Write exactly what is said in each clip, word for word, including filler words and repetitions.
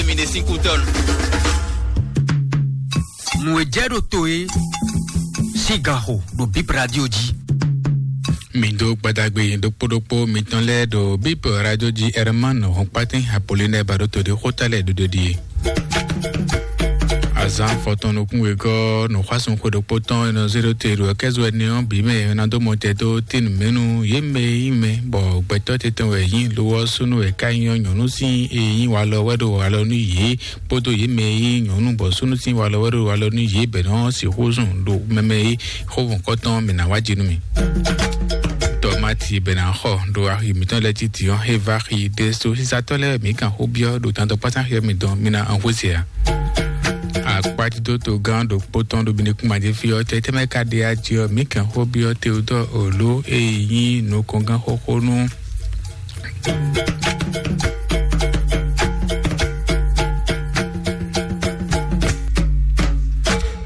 Mi ɖe sín kú tɔn. Nǔ e jɛ ɖo to e sín gan xo ɖo Bip Radio jí. Mi dó gbadagbe ɖokpó ɖokpó mitɔn lɛ́ɛ ɖo Bip Radio jí. Herman Hɔnkpatɛn Apollinaire Baɖoto ɖe xóta lɛ́ɛ ɖoɖo ɖie. Azán fɔtɔn nukún wegɔ́ nǔxwásún xwe ɖokpó tɔn e nɔ zé ɖó te ɖo kɛ́zo ɛnɛ ɔ́ bǐ mɛ e ná dó mɔ tɛ dó tín mɛ̌nu yě mɛ e nyí mɛ bɔ gbɛtɔ́ tɛtɛn wɛ nyí lo ɔ́ súnnu wɛ ká nyí ɔ́ nyɔ̌nu sín e nyí walɔ wɛ ɖo walɔ nú yě kpódó yě mɛ e nyí nyɔ̌nu bɔ súnnu sín walɔ wɛ ɖo walɔ nú yě bɛ̌ nɔ sixú zun ɖo mɛmɛ e xó mɔ̌kɔtɔn mɛ ná wá jí nú mì. Tɔmáti bɛ́ ná xɔ ɖo axi mǐtɔn lɛ́ɛ títí ɔ́, é vá xi ɖésú. Sísatɔ́ lɛ́ɛ mǐ kan xó byɔ́ ɖo tantɔkpásán xyɔ́ mi dɔn, mi ná an xwé se ǎ. Akpátídótó gán ɖokpó tɔn ɖo binekún maɖé fí ɔ́, tɛ tɛ́ mɛ ka ɖe aji ɔ́, mǐ kan xó byɔ́ Teodɔ́ɔ Oló e nyí nukɔngán xóxó nú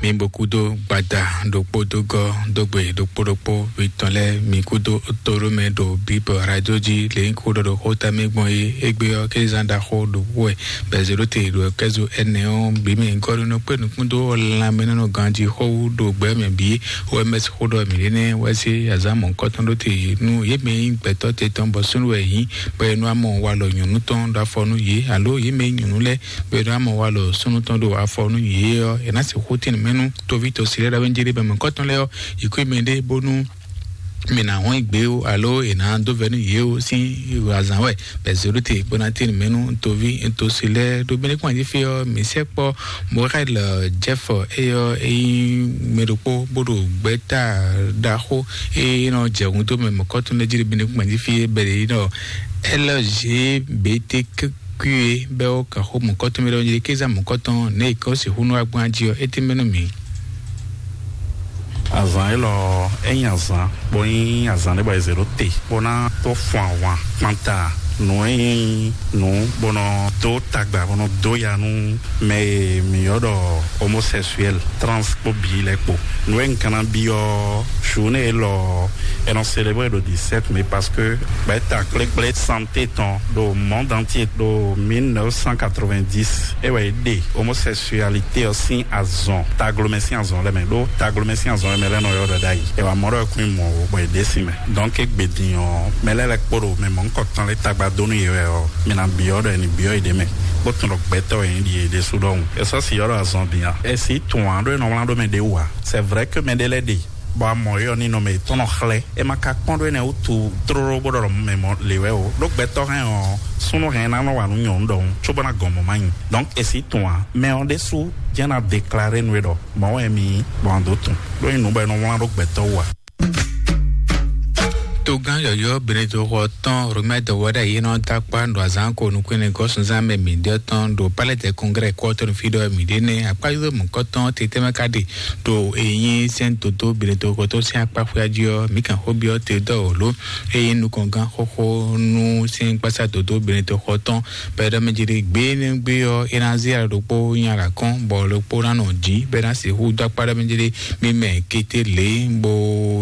mi bo kúdó gbada ɖokpó dó gɔ́ dó gbe ɖokpó ɖokpó mitɔn lɛ́ɛ mi kúdó tóɖó mɛ ɖo Bíbɔ radio jí lě nyí kó ɖɔ ɖo xóta mɛ gbɔn é. Égbé ɔ́, kézán ɖaxó ɖokpó wɛ bɛzéɖóte ɖo kɛ́zo ɛnɛ ɔ́ bǐ mɛ gɔ́ nínú kpé nukún dó lanmɛnánɔ ganjí xó wú ɖo gbɛ mɛ bǐ. O M S xó ɖɔ mǐ ɖé nɛ́ wɛ sí azǎn mɔ̌hunkɔtɔn ɖó te nú yě mɛ e nyí gbɛtɔ́ te tɔn bɔ súnnu wɛ yě nyí, bɔ è nɔ wá mɔ walɔ nyɔ̌nu tɔn ɖó afɔ nú yě, alo yě mɛ e nyí nyɔ̌nu lɛ́ɛ bɔ è nɔ wá mɔ walɔ súnnu tɔn ɖó afɔ nú yě ɔ́, è nǎ sixú tín mɛ nú toví tɔsí lɛ́ɛ ɖo awenjé ɖé bɔ mɔ̌hunkɔtɔn lɛ́ɛ ɔ́, yě kú mɛ ɖé bónú mǐ ná hɔn gbe ó, alo è nǎ dó vɛ́ nú yě ó sín azǎn wɛ bɛzéɖóte bó ná tín mɛ nú toví tɔsí lɛ́ɛ ɖó mɛ ɖé kpɔ́n jí fí ɔ́, mǐ sɛkpɔ́ Morel Jeff, éyɔ́ é nyí mɛ ɖokpó bó ɖo gbɛ̌ta ɖaxó e nɔ jɛ hun dó mɛ mɔ̌kɔtɔn lɛ́ɛ jí ɖo Benɛkún gbɛ̌ jí fí é bɛ́ ɖě nɔ L G B T Q é bɛ́ ó kaxó mɔ̌kɔtɔn mɛ ɖɔhun jí kéza mɔ̌kɔtɔn nɛ̌ è kɔ́ sixú nɔ wá gbɔn jí ɔ́, é tɛ́nmɛ nú mǐ. Azǎn élɔ́ é nyí azǎn bó nyí azǎn ɖé bɔ è zě ɖó te bó ná tó fun ahwan kpanta nǔ e nyí nǔ bó nɔ dó tagba bó nɔ dó ya nú mɛ e mǐ ylɔ́ ɖɔ homosexuel, trans kpó bǐ lɛ́ɛ kpó. Nǔ e un ka ná byɔ́ journée élɔ́ è nɔ célébrer ɖo dix-sept mai parce que gbɛ̌ta kplékplé santé tɔn ɖo monde entier ɖo mille neuf cent quatre-vingt-dix é wɛ é ɖe homosexualité ɔ́ sín azɔn taglomɛ sín azɔn lɛ́ɛ mɛ ɖó taglomɛ sín azɔn lɛ́ɛ mɛ lɛ́ɛ nɔ ylɔ́ ɖɔ ɖ'ayǐ. È wǎ mɔ ɖɔ é kún nyí mɔ̌ ó, bɔ è ɖě sin mɛ. Donc égbé din ɔ́, mɛ lɛ́ɛ lɛ́ɛ kpó ɖo mɛ mɔ̌hunkɔtɔn lɛ́ɛ tagba dó nú yě wɛ ɔ́, mi ná byɔ́ ɖɔ è nǐ byɔ́ yě ɖ'é mɛ, bó tunwun ɖɔ gbɛtɔ́ wɛ nyí ɖi yě ɖésú ɖɔhun. É sɔ́ si ylɔ́ ɖɔ azɔn din a? É sí tunwun ǎ ɖó è nɔ wlán ɖó mɛ ɖě wú ǎ. C'est vrai que mɛ ɖé lɛ́ɛ ɖe bɔ a mɔ é ɔ́ ninɔmɛ yětɔn nɔ xlɛ́. É ma ka kpɔ́n ɖó énɛ́ wútu tlóló bó ɖɔ mɛ mɔ lě wɛ o. Ɖó gbɛtɔ́ hɛn ɔ́, súnnu hɛn ná nɔ wa nú nyɔ̌nu ɖɔhun, cóbó ná gɔn mɔ̌ má nyi. Donc è sí tunwun ǎ. Mɛ ɔ́ ɖésú jɛ́n ná déclarer nú é ɖɔ mɔ̌ wɛ mi nyí, bɔ a dǒ tunwun. Ɖó nyí nǔ bɔ è nɔ wlán ɖó gbɛtɔ́ wú ǎ. Togán yɔ̌yɔ́ Benedikto xɔ tɔn Romɛ dɔwɛɖa yě nɔ dó akpá ɖo azǎn ko nukúnmɛ gɔ́súnzán mɛ mǐɖée tɔn ɖo Palais des Congrès kɔ́tɔ́nú fí ɖɔ mǐɖée nɛ́ akpájúzɔ mɔ̌kɔtɔn tete mɛ ka ɖe ɖo eyín sɛ́n dodó Benedikto xɔ tɔn sín akpá xwéá jí ɔ́, mǐ kan xó byɔ́ te dó wǒ ló. Eyín nukɔngán xóxó nú sɛ́n gbásá dodó Benedikto xɔ tɔn bɔ é ɖɔ mɛ jí ɖi gbé énɛ́ gbé ɔ́, é ná zé alɔ ɖokpó nyi alɔ kɔn, bɔ ɖokpó ná nɔ jǐ, bɔ é ná sixú dó akpá ɖɔ mɛ jí ɖi mì mɛ kété lě bó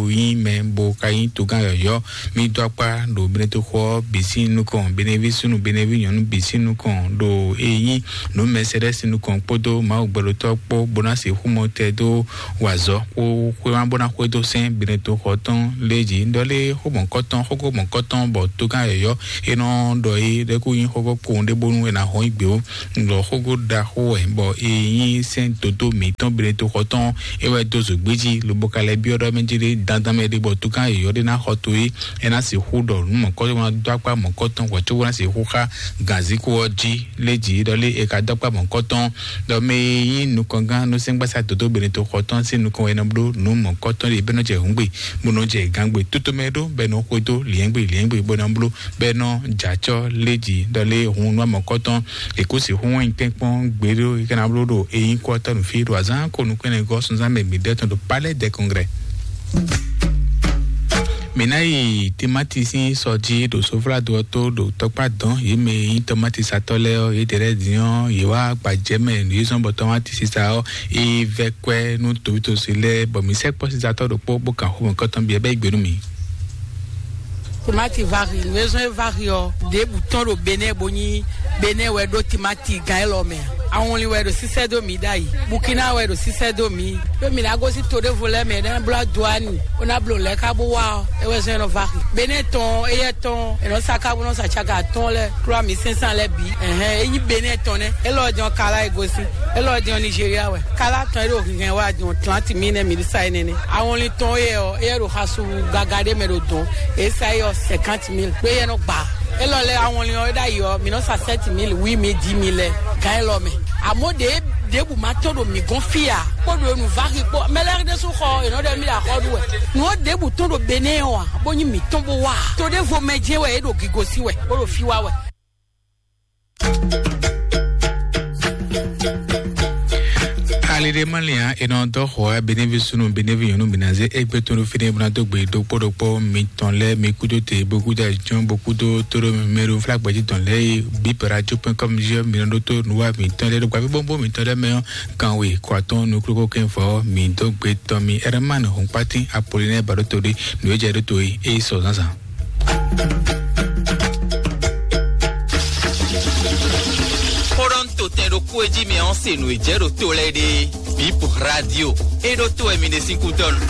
nyí mɛ bó ka nyí togán yɔ̌yɔ́. Mì dó akpá ɖo Benedikto xɔ ɔ́ bǐ sín nukɔn, Beneví súnnu, Beneví nyɔ̌nu bǐ sín nukɔn, ɖo e nyí nǔ Mɛsɛ́dɛ́ sín nukɔn kpódó Mawu gbɛɖotɔ́ kpó, bó ná sixú mɔ tɛ dó wa azɔ̌ xó xwéma bó ná xwedó sɛ́n Benedikto xɔ tɔn lé jí. Ɖɔ lé xó mɔ̌kɔtɔn, xóxó mɔ̌kɔtɔn bɔ togán yɔ̌yɔ́ é nɔ ɖɔ é ɖɛ́ kú nyí xóxó kpowun ɖé bónú è nǎ hɔn yí gbě ó. Ɖɔ xóxó ɖaxó wɛ bɔ è nyí sɛ́n dodó mǐtɔn Benedikto xɔ tɔn é wɛ dó zǒgbé jí, lobo ka lɛ́ byɔ́ ɖɔ mɛ jí ɖé dandan mɛ ɖé bɔ togán yɔ̌yɔ́ ɖé ná xɔ to é, é ná sixú ɖɔ nǔ mɔ̌kɔtɔn ná dó akpá mɔ̌kɔtɔn wɛ có ná sixú xá gǎnzíkú ɔ́ jí. Lé jí ɖɔ lé è ka dó akpá mɔ̌kɔtɔn ɖɔ mɛ e nyí nukɔngán nú sɛ́ngbásá dodó Benedikto xɔ tɔn sín nukɔn wɛ ná bló nǔ mɔ̌kɔtɔn ɖé bɛ́ nɔ jɛ hǔngbe, bó nɔ jɛ gǎngbe tótó mɛ ɖó bɛ́ nɔ xwedó liɛ́ngbe liɛ́ngbe bó ná bló bɛ́ nɔ jɛ acɔ́ lé jí ɖɔ lé hun nú amɔ̌kɔtɔn. È kú sixú wɛn tɛ́nkpɔ́n gbeɖó é ka ná bló ɖo eyín kú ɔ́ tɔ́ nǔ fí ɖo azǎn ko nukúnmɛ gɔ́ sunzán mɛ bǐ ɖɛ́ tɔn ɖo Palais des Congrès. Mǐ ná yi timáti sín sɔ jí ɖo soflado ɔ́ tó ɖo tɔkpá dɔn yě mɛ e nyí tɔmátisatɔ́ lɛ́ɛ ɔ́, yědɛɛ lɛ́ɛ din ɔ́, yě wá gbajɛ mɛ nǔ yě zɔ́n bɔ tɔmátisisa ɔ́, é vɛ́ kwɛ́ nú tòwítòsí lɛ́ɛ, bɔ mǐ sɛ́ kpɔ́sizatɔ́ ɖokpó bó kan xomɛ kɔ́tɔn byɔ́ bɛ́ yi gbe nú mǐ. Tomati vari, nǔ e zɔ́n é vari ɔ́, ɖěbǔ tɔn ɖo Benɛ́ bo nyí Benɛ́ wɛ ɖó timati gán élɔ́ mɛ. Awɔnlin wɛ ɖo sísɛ́ dó mǐ ɖ'ayǐ. Bukina wɛ ɖo sísɛ́ dó mǐ. Ɖó mǐ ná gosín to ɖěvo lɛ́ɛ mɛ, é ná bló Aduani, bó ná bló lɛ̌ ká bó wá ɔ́, é wɛ zɔ́n é nɔ vari. Benɛ́ tɔn, éyɛ́ tɔn, è nɔ sa ká bó nɔ sa caka atɔ́ɔ́n lɛ́ɛ, klɔ́ mǐ sɛ́nsán lɛ́ɛ bǐ. Ɛhɛn, é nyí Benɛ́ tɔn nɛ́. Élɔ́ jɛ́n ɔ́, Kala e gosín. Élɔ́ jɛ́n ɔ́, Nigéria wɛ. Kala tɔn e ɖo hɛn wá jɔn Atlantique mɛ nɛ́, mǐ sa énɛ́ nɛ́. Awɔnlin tɔn éyɛ́ ɔ́, éyɛ́ ɖo xasu gaga ɖé mɛ ɖo dɔ̌n. É sa éyɛ́ ɔ́ cinquante mille. Ɖó éyɛ́ nɔ gba. Élɔ́ lɛ́ɛ awɔnlin ɔ́, é ɖ'ayǐ ɔ́, mǐ nɔ sa sept mille, huit mille, dix mille lɛ́ɛ gán élɔ́ mɛ. Àmọ́ ɖě ɖěbǔ ma tɔn ɖo mǐ gɔ́n fí ǎ, kpó ɖo nǔ vari kpó. Mɛ lɛ́ɛ ɖésú xɔ, è nɔ ɖɔ mí ɖo axɔ́ ɖu wɛ. Nǔ ɔ́ ɖěbǔ tɔn ɖo Benɛ́ ɔ́ ǎ, bó nyí mǐtɔn bó wá ǎ. To ɖěvo mɛ jɛ́n wɛ é ɖo gigo sí wɛ, bó ɖo fí wá wɛ. Aliɖe Malian, e nɔ dɔ xɔ Benevi sunu, Benevi nyɔnu, bina ze egbe tunu fini buna dogbe dokpo dokpo mitɔn lɛ mi kudo te bokuda jɔn bokudo toro mɛru fla gbɛji tɔn lɛ yi bip radio point com je mi nɔ ɖo to nuwa mitɔn lɛ ɖo gbavi bɔnbɔn mitɔn lɛ mɛ ɔ kanwe kɔatɔn nukloko kɛnfɔ mi dogbe tɔn mi Herman Hunkpati Apollinaire Baɖotoɖi nǔ e jɛ ɖo to yi e yi sɔ zǎnzǎn. Kpɔɖɔn to tɛn ɖokpó e jí mɛ ɔ́ se nǔ e jɛ ɖo to lɛ́ɛ ɖe. Bip radio e ɖo to wɛ mi ɖe sín kútɔ́ nu.